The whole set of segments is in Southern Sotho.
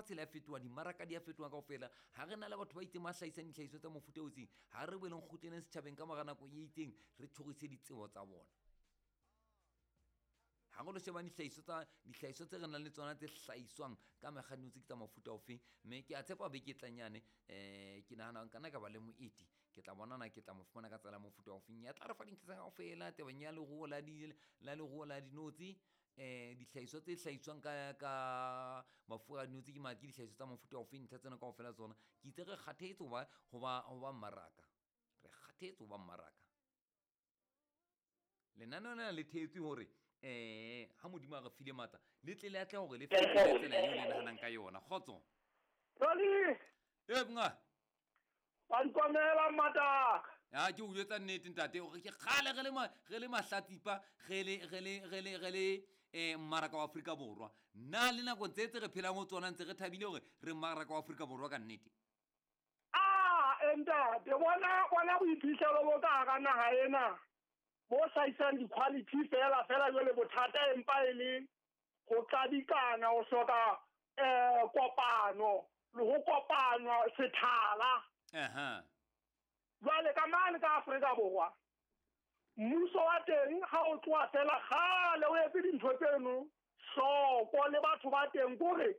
Lefatshe le a fetoha, dimmaraka di a fetoha kaofela. Ha re na le batho ba itseng ba hlahisang dihlahiswa tsa mofuta o itseng, ha re boeleng kgutleleng setjhabeng ka mora nako e itseng, re tjhorise ditsebo tsa bona. Ha re lo shebang dihlahiswa tsa dihlahiswa tse re nang le tsona tse hlahiswang ka mekganno tse ke tsa mofuta ofeng. Mme ke a tshepa beke e tlang yane, ke nahana nka nna ka ba le moeti, ke tla bonana, ke tla mo fumana ka tsela ya mofuta ofeng, ya tla re fa dintlha tsa kaofela tabeng ya leruo la di la leruo la dinotshi. Dihlahiswa tse hlahiswang ka mafura a dinotshi ke ke dihlahiswa tsa mofuta ofeng, ntlha tsena kaofela tsona. Ke itse re kgathetse ho ba mmaraka, re kgathetse ho ba mmaraka. Lenaneo lena le thehetswe hore ha Modimo a re file matla, le tle le atle hore le fetole tsela eo le nahanang ka yona. Kgotso. Rali. E monga. Wa nkomela mataka. Ya, ke o jwetsa nnete, ntate, hore ke kgale re le mahlatsipa, re le mmaraka wa Afrika Borwa. Na le nako tse re phelang ho tsona, ntse re thabile hore re mmaraka wa Afrika Borwa ka nnete? Ah, ntate, bona boiphihlelo bo ka hara naha ena bo hlahisang di-quality fela fela. Jwale bothata empa e le ho qadikana, ho hloka kopano le ho kopanywa sethala. Jwale ka mane ka Afrika Borwa, mmuso wa teng ha o tloha fela kgale o etse dintho tseno hloko le batho ba teng, kore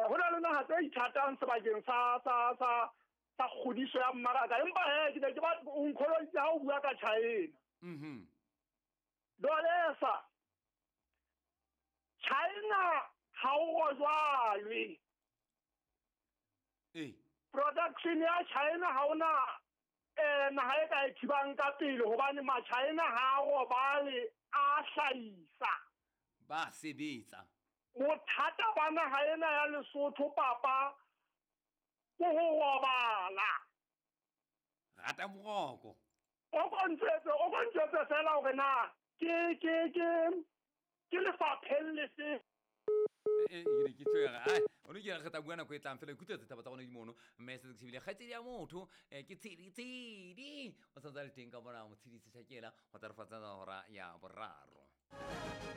ho na le naha tse ithatang sebakeng sa kgodiso ya mmaraka. Empa he, ke ne ke ba o nkgoloditse ha o bua ka China. Dolesa China ha o rojwalwe. Production ya China ha ona naha e ka e thibang ka pele, hobane ma-China ha a robale, a hlahisa. Ba sebetsa. Bothata ba naha ena ya Lesotho, papa, ke ho robala. Rata boroko. O ko ntjwetse fela hore na ke lefapheng lefe. Ke ne ke tshwere ai o ne ke re tla bua nako e tlang fela. Ikutlwetse taba tsa rona di mono, mme se ke shebile kgaitsedi ya motho, ke Tshedi. Tshedi o santse a le teng ka mona, Motshedisi Shakela, go tla re fatsa hora ya 3.